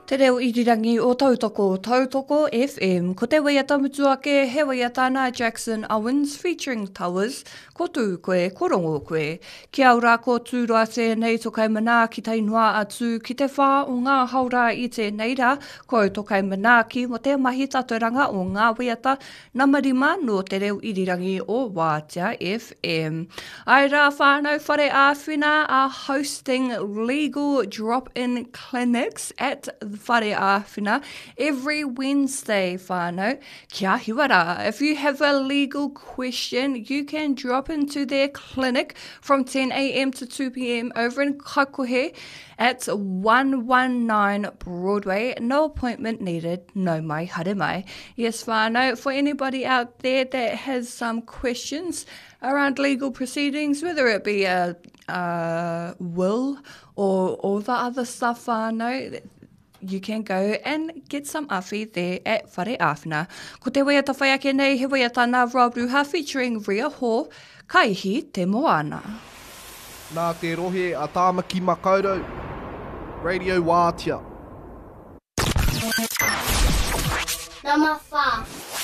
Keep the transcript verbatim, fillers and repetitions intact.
Te reo irirangi o Tautoko, Tautoko FM. Ko te waiata mutu ake, he waiata nā Jackson Owens featuring Towers, ko tū koe, ko rongo koe. Kia ora ko Tūroa tēnei to kai manaaki tai noa atu ki te whā o ngā haora i tēnei rā, ko au to kai manaaki mo te mahi taturanga o ngā waiata nama rima nō te reo irirangi o Wātea FM. Ai rā whānau whare āwhina are hosting legal drop-in clinics at Whare Āwhina every Wednesday whānau. Kia hiwa rā. If you have a legal question, you can drop into their clinic from ten A M to two P M over in Kaikohe at one one nine Broadway. No appointment needed. No mai, haere mai. Yes, whānau, for anybody out there that has some questions around legal proceedings, whether it be a, a will or all the other stuff, whānau, you can go and get some awhi there at Whare Āwhina. Ko te waiata whai ake nei, he waiata nā Rob Ruha featuring Ria Hall, Kaihi Te Moana. Nā te rohe a Tāmaki Makaurau, Radio Wātea. Number four.